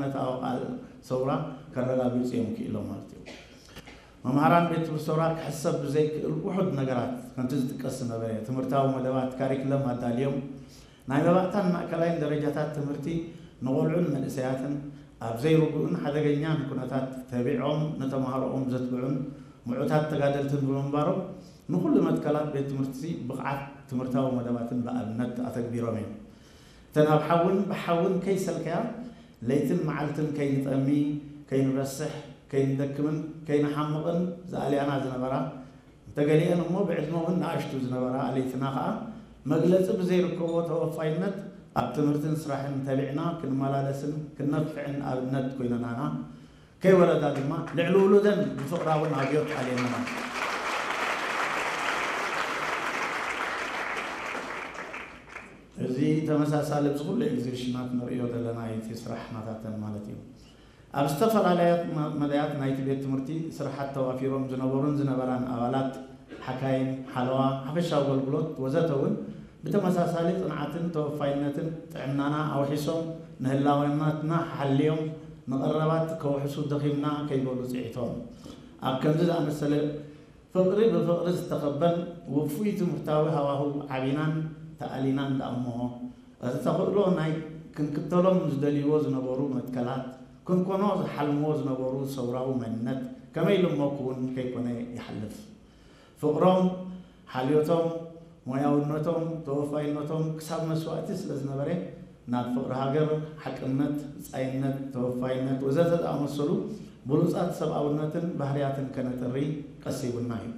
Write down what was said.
ነታ ኣውቃል ሰውራ ከረጋግጹ እዮም ክኢሎም ማለት እዩ። መምሃራን ቤት ትምህርቲ ሰውራ ክሕሰብ ብዘይክእል ውሑድ ነገራት ከምቲ ዝጥቀስ ዝነበረ ትምህርታዊ መደባት፣ ካሪክለም ኣዳልዮም ናይ መባእታን ማእከላይን ደረጃታት ትምህርቲ ንቖልዑን መንእሰያትን ኣብ ዘይርጉእን ሓደገኛን ኩነታት ተቢዖም ንተማሃሮኦም ዘትብዑን ምዑታት ተጋደልትን ብምንባሮም ንኹሉ መትከላት ቤት ትምህርቲ ብቕዓት ትምህርታዊ መደባትን ብኣብነት ኣተግቢሮም እዮም። እተን ኣብ ሓውን ብሓውን ከይሰልከያ ለይትን መዓልትን ከይንጠሚ፣ ከይንረስሕ፣ ከይንደክምን ከይንሓምቕን ዝኣልያና ዝነበራ፣ እንተገሊአን እሞ ብዕድመ እውን ንኣሽቱ ዝነበራ ኣለይትና ኸኣ መግለጺ ብዘይርከቦ ተወፋይነት ኣብ ትምህርትን ስራሕን ተቢዕና ክንመላለስን ክንነፍዕን ኣብነት ኮይነናና፣ ከይወረዳ ድማ ልዕሊ ውሉደን ብፍቕራውን ኣብዮት ኣልየናና። እዚ ተመሳሳሊ ኣብዚ ኩሉ ኤግዚቢሽናት ንርእዮ ዘለና እቲ ስራሕ ናታተን ማለት እዩ። ኣብ ዝተፈላለያ መ- መዳያት ናይቲ ቤት ትምህርቲ ስራሓት ተዋፊሮም ዝነበሩን ዝነበራን ኣባላት፣ ሓካይም፣ ሓለዋ፣ ሓፈሻዊ ኣገልግሎት ወዘተ እውን ብተመሳሳሊ ጽንዓትን ተወፋይነትን ጥዕናና ኣውሒሶም ንህላወናትና ሓልዮም ንቐረባት ከውሕሱ ደኺምና ከይበሉ ጽዒቶም ኣብ ከምዚ ዝኣመሰለ ፍቕሪ ብፍቕሪ ዝተኸበን ውፉይ ትምህርታዊ ሃዋህው ዓቢናን ተኣሊናን ደኣ እሞ፣ እቲ ተኽእሎ ናይ ክንክተሎም ዝደልይዎ ዝነበሩ መትከላት፣ ክንኮኖ ዝሓልምዎ ዝነበሩ ሰውራዊ መንነት ከመይ ኢሉ እሞ ክውን ከይኮነ ይሓልፍ። ፍቕሮም፣ ሓልዮቶም፣ ሞያውነቶም፣ ተወፋይነቶም ክሳብ መስዋእቲ ስለ ዝነበረ፣ ናብ ፍቕሪ ሃገር፣ ሓቅነት፣ ብጻይነት፣ ተወፋይነት ወዘተ ዝኣመሰሉ ብሉጻት ሰብኣውነትን ባህርያትን ከነጥሪ ቀሲቡና እዩ።